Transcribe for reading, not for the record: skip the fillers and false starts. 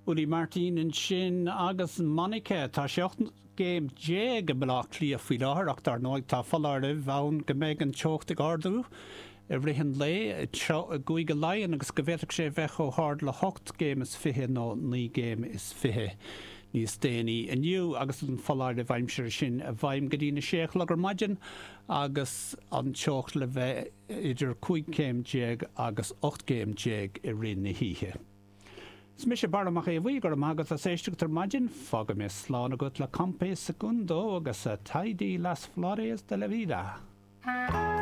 Ully Martin ansin agus Monica. Tá sé 18 gcéim i mBaile Átha Cliath faoi láthair ach dar ndóigh tá foláireamh ann go mbeidh an teocht ag ardú i rith an lae i gCúige Laighean agus go bhféadfadh sé a bheith chomh hard le hocht gcéim is fiche nó naoi gcéim is fiche níos déanaí inniu agus an foláireamh aimsire sin i bhfeidhm go dtí na sé a chlog ar maidin agus an teocht le bheith idir 15 céim agus 18 gcéim i rith na hoíche. Is mise Barra Mac Aodha Bhuí, go raibh maith agat as éisteacht ar maidin. Fágfaidh mé slán agat le Compay Segundo agus Te Di Las Flores de la Vida.